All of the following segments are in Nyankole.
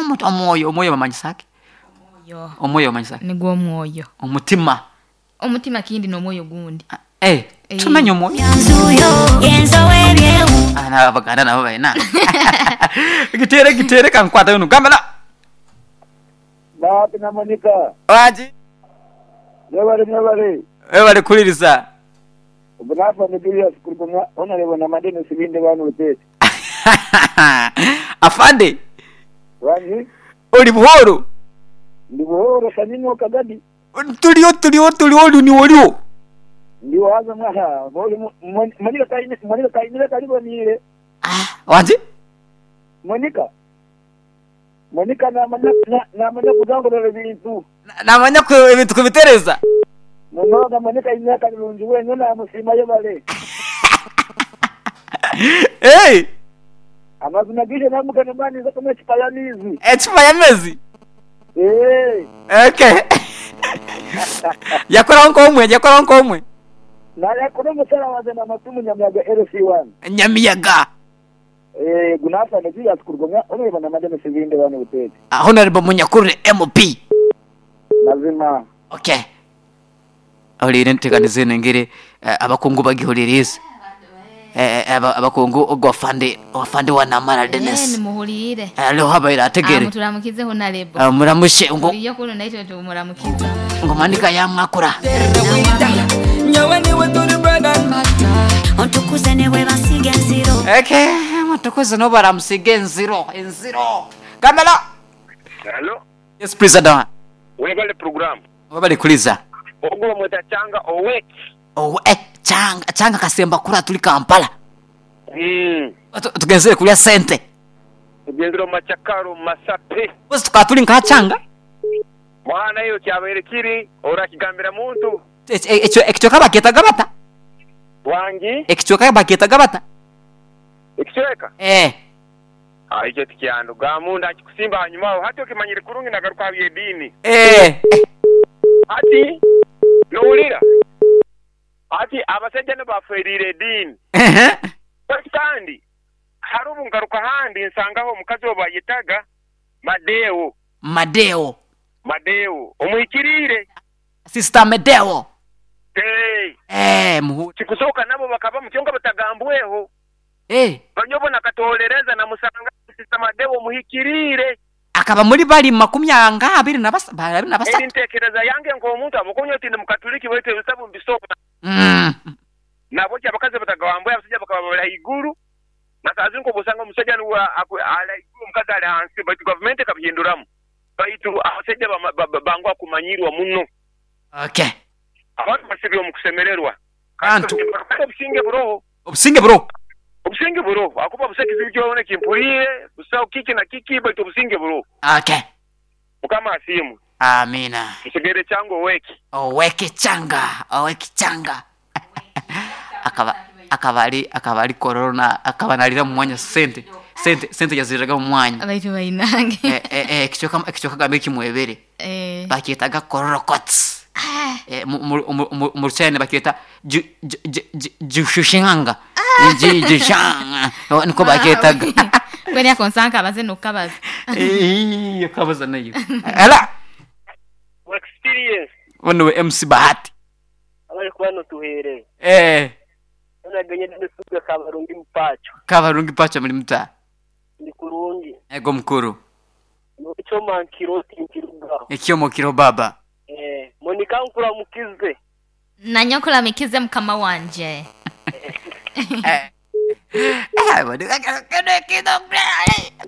Omwoyo, omwoyo bamanyisa ki? Omwoyo. Omwoyo bamanyisa ki? Nigwo omwoyo. Omutima. Omutima kindi n'omwoyo gundi. Eh, tumanya omwoyo. Ah, na Abaganda nabo balina. Giteere giteere kankwata yuno. Gamba na. Bahati na Monica. Wangi. Mwebale mwebale. Webale kuhuliriza. Ogu n'Afande Julius kuruga omwa Honourable Namadini Sibinde Wani Buteete. Afande. Wangi. Oli buhooro? Ndi buhooro Shamim Kagadi. Turiho turiho turiho ori niiwe oriho? Ndiho haza mwaha ori Monica kaine Monica kainire kariboniire. Ah, wangi? Monica Monica namanya namanya kuzangurura ebintu. Namanya ku ebintu kubitereza. Munonga Monica aine akarungi wenyine namusiima yebare. Hey! Amazima gaije namugana mba ninza kunywa ecupa y'amaizi. Ecupa y'amaizi? Eeh. Okay. Yakoraho nk'omwe, yakoraho nk'omwe. Nayakora omusara wangye namatu omu Nyamiyaga LC1. Nyamiyaga. Eeh, gu n'Afande Julius kuruga omu Honourable Namadeni Sibinde Wani Buteete. Honourable Munyakurire MP. Mazima. Okay. Ahuriire enteekaniza eno engeri abakungu bagihuririize. Abakungu ogu afande, afande wa Namara Denis. Nimuhuriire. Hariho abaire ategere. Muturamukize Honarebo. Muramushe ngu. Oriyo kunu naitwe tumuramukize. Ngu Monica yamwakura. Ontukuze ne bwe bansiiga enziro. Okay, mutukuze n'obu baramusiiga enziro, enziro. Kamera. Hello. Yes President. Webale program. Webale kuliza. Ogwo bamweta Changa Owek. Owe eh, Changa, Changa kasemba kura tuli Kampala. Mm. Tugenzere kulya sente. Tugenzere omu machakaro omu masape. Mpozi tukaba turi nka Changa. Mwana iwe kyabaire kiri orakigambira muntu. Ekicweka bakyetaga bata? Wangi? Ekicweka bakyetaga bata? Ekicweka? Eh. Aah ekyo tikyandugamu, ndakikusimba hanyuma aho. Hati okimanyire kurungi nagaruka aha by'ediini. Eh. Hati nohurira? Hati abasaija nibo baferiire ediini. Baitu kandi hariho obu ngaruka ahandi nsangaho omukazi ou bayetaga Madeo. Madeo. Madeo omuhikiriire. Sister Medeo. Eeh. Eeh, muhurire. Kikusoboka nabo bakabamu kyonka batagambweho. Eh. Banyobo nakatoorereza namusanga Sister Madeo omuhikiriire. Akaba muri bari makumi nga abiri na abiri na Eri basatu. ntekereza yange nk'omuntu ahabw'okuba nyowe tindi Mukatuliki baitu ebitabu mbisoma. Nahabweki abakazi batagambweho abasaija bakaba bari haiguru na saaha zinu nk'obu osanga omusaija nuwe ali haiguru omukazi ali hansi baitu gavumenti ekabihinduramu baitu abasaija banguha kumanyirwa muno. Okay. Abantu basibire omu kusemererwa. Bantu. Kandi obusinge buroho. Obusinge buroho. Obusinge buroho ahakuba busaho ekizibu kyona eki mpuriire, busaho kiki na kiki baitu obusinge buroho. Okay. Mukama asiimwe. Amiina. Nsigaire Changa Oweki. Oweki Changa, Oweki Changa. Akaba akaba ari akaba ari Kololo na akaba nariira omu mwanya sente sente sente yaziriraga omu mwanya. Baitu bainange. Eh, eh, eh, ekicweka ekicweka gambe kimwebere. Eh. Bakyetaga Kololo Courts. Eh, mu- mu- mu- mu- Omu Ruchina nibakyeta ju- ju- ju- ju- Jushushanga. Ju- Jushanga. Nikwo bakyetaga. Mbwenu ako nsa nkabaze n'okukabaza. Eii, okabaza nayo. Ela, Experience. onu niwe MC Bahati. Abari kuba notuhereza. Eh, Yoona genye nisuga Kabarungi Mpacho. Kabarungi Mpacho muri muta? Ndi kurungi. Ego mukuru. Ekyoma nkiro tinkirugaho. Ekyoma okiriho baaba. Eh, Monica nkuramukize. Nanye nkuramikize mukama wangye.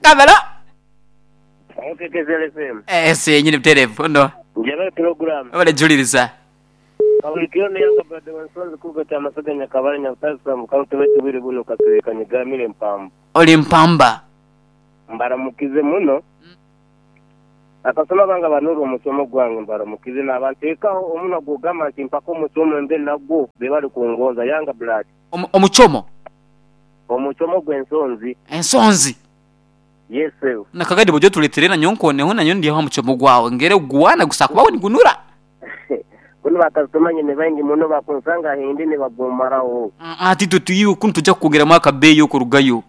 Kamera. KKZL FM. Ensi yenyini butereevu ono. Njebale pulogulaamu. Webale juliriza. Kabulikiro ni Younger brother wa Nsonzi kuruga Kyamasaga Nyakabale Nyabutare Sub County baitu obwire bunu Katureka Nyigamire Mpamba. Ori Mpamba. Mbaramukize muno. Akasoma bange abanurwa omusomo gwange mbaramukize naba ntekaho omunwa gugamba nti mpaka omusomo mbe nagwo bebale kungonza Younger blood. Omuchomo. Omuchomo gw'ensonzi. Ensonzi. Yes sir. Nakagadi bw'oija otureetere nanyowe nkoneho nanyowe ndyeho aha muchomo gwawe ngere gwana gusa kuba nigunura. Kunu ba kasitoma nyine baingi muno bakunsanga ahindi nibagumaraho. Hati itwe twiiwe kunu nitwija kukwongeramu akabeeyi okurugayo.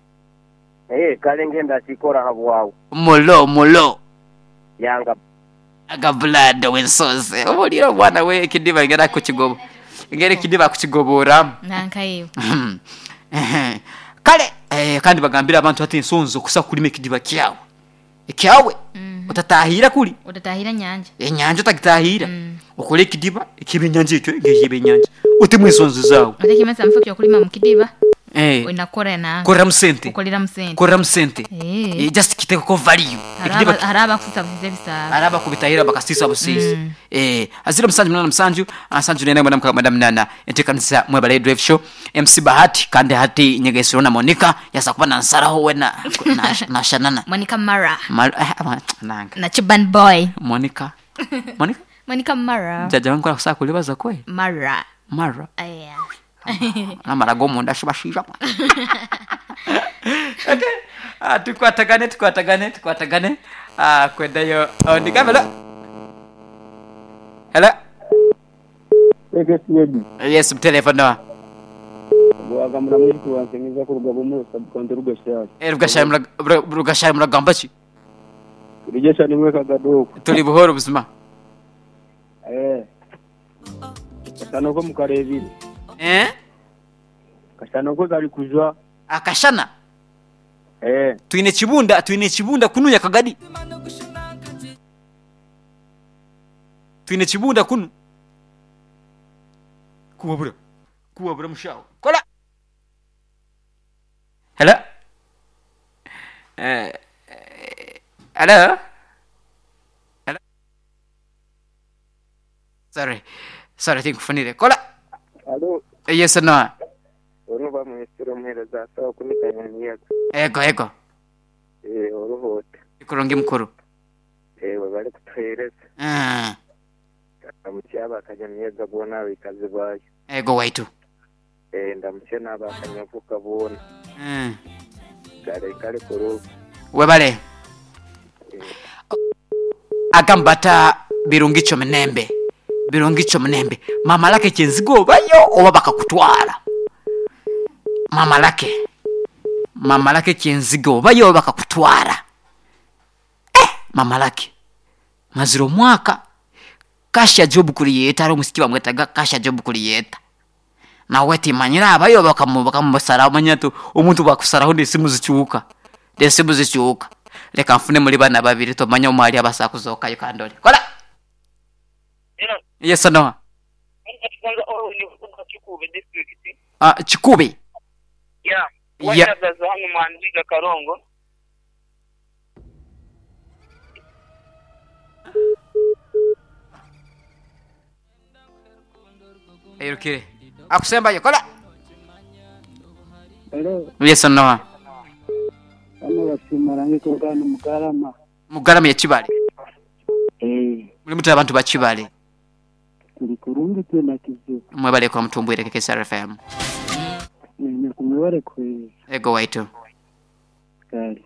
Eh, kale ngenda akikora habwawe. Mulo mulo. Yanga. Aga blood wensozi. Obuulire omwana we ekidiba engeri akukigobo. Engeri ekidiba akukigoboramu. Nanka iwe. Kale eh, kandi bagambire abantu hati ensonzi okusa kulima ekidiba kyawe. Ekyawe otatahira kuri. Otatahira nyanja. Enyanja otagitahira. Okore ekidiba eky'ebyenyanja ekyo ng'eky'ebyenyanja. Otemu ensonzi zaawe. Ate kimwe mufo ky'okulima mu kidiba. Eh. Olina kukora nanka. Koreramu sente. Kukoleramu sente. Koreramu sente. Eh. Eh, just kitekeko value. Hariho Ekidiba hariho abakusisa busiisa ebisaabo. Hariho abakubitahira bakasiisa busiisa. Eh, aziro musanju munana musanju, nsanju nena mwenda mukaaga mwenda munana. Enteekanisa mwebale Drive Show. MC Bahati kandi hati nyegesirwe na Monica yaza kuba nansaraho wena nashanana. Monica Mara. Mar eh, nanga. Na Chiban Boy. Monica. Monica? Monica Mara. Jaja wangu akusaa kulibaza kwe. Mara. Mara. Aya. Namara g'omunda shibashiija. Okay. Ah, tukwatagane tukwatagane tukwatagane. Ah, kwendayo. Oh, ndigambe Hello. Yes, mtelefona. Bwagamura muri wansemeza kuruga bomu subcounty Rugashari. Eh, Rugashari Rugashari muragamba ki? Rugesha nimwe kagadoko. Turi buhoro buzima. Eh. Kashana ko mukarebire. Eh? Kashana ko kari kujwa. Akashana. Eh. Twine kibunda, twine kibunda kununya kagadi. Twine kibunda kunu. Kuwabura. Kuwabura mushawo. Kola. Hello. Hello. Hello. Sorry. Sorry, tinkufunire. Kola. Alo. Yes no. Oruba mwesiro muhereza sawa kumikanya Ego ego. Eh, oruhote. Kurungi mukuru. Eh, bari kutuhereza. Ah. Ndamukiye abakanyamyega bona abikazi bayo. Ego waitu. Eh, ndamukiye n'abakanyavuka bona. Kare kare kuruba. Webale. Agambata birungicho munembe. Birungicho munembe. Mama lake kyenzigo bayo oba bakakutwara. Mama lake. Mama lake kyenzigo bayo oba bakakutwara. Eh, mama lake. Maziro mwaka Kasha job creator ari omusiki bamwetaga Kasha job creator. Nawe timanyira abayo bakamusaraho manya tu omuntu bakusaraho n'esimu zikyuka. N'esimu zikyuka. Leka nfune muri bana babiri tomanya omwali abasa kuzokayo kandole. Kola. Yes no. Ah, Kikube. Yeah. Yeah. Hano mwandiga Karongo. Erukire. Akusembayo kola. Hello. Yes no. Hano basimarange kurugana Mugarama. Mugarama ya Kibale. Eh, Muri mutu abantu ba Kibale. turi kurungi tena kizu. Mwebale kwa mutumbwire KKSR FM. Ni kumwebale kwe Ego waitu. kale.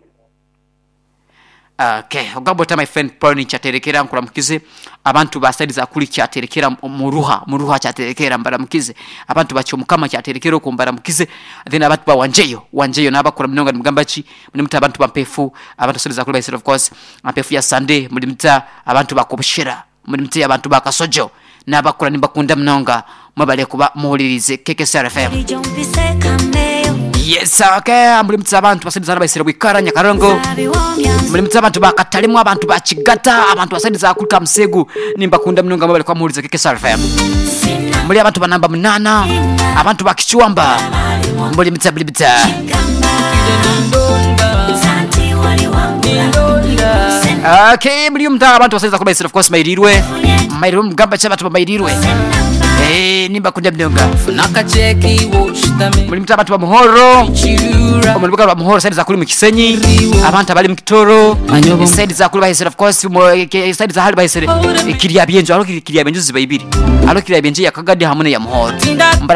Okay, ogamba ota my friend Paul kyaterekera nkuramukize abantu basaidiza kuli kyaterekera muruha muruha kyaterekera mbaramukize abantu bakyo mukama kyaterekera okumbaramukize then abantu ba wanjeyo wanjeyo nabakura munonga nimugamba ki mulimuta abantu bampefu abantu basaidiza kuli baisira of course ampefu ya Sunday mulimuta abantu bakobushira mulimuta abantu bakasojo nabakura nimbakunda munonga mwebale kuba muhulirize KKSR FM. Yes, okay, mulimuta abantu basaidiza baisira bwikara Nyakarongo. Mulimuta abantu bakatalimu abantu bakigata abantu basaidiza kulika musegu nimbakunda munonga mwebale kwa muhulirize KKSR FM. Muli abantu banamba munana abantu bakichwamba mulimuta mulimuta. Okay, mulimuta abantu basaidiza kulika baisira of course mairirwe mairirwe mugamba cha abantu bamairirwe. Eh, nimbakunda munonga. Mulimuta abantu ba Muhoro. Omulibuka lwa Muhoro side za kuli mu Kisenyi, abantu abali mu Kitoro, side za kuli bahisera of course side za hali bahisera kirya byenjo, alo kirya byenjo ziba ibiri. Alo kirya byenjo ya Kagadi hamwe ya Muhoro.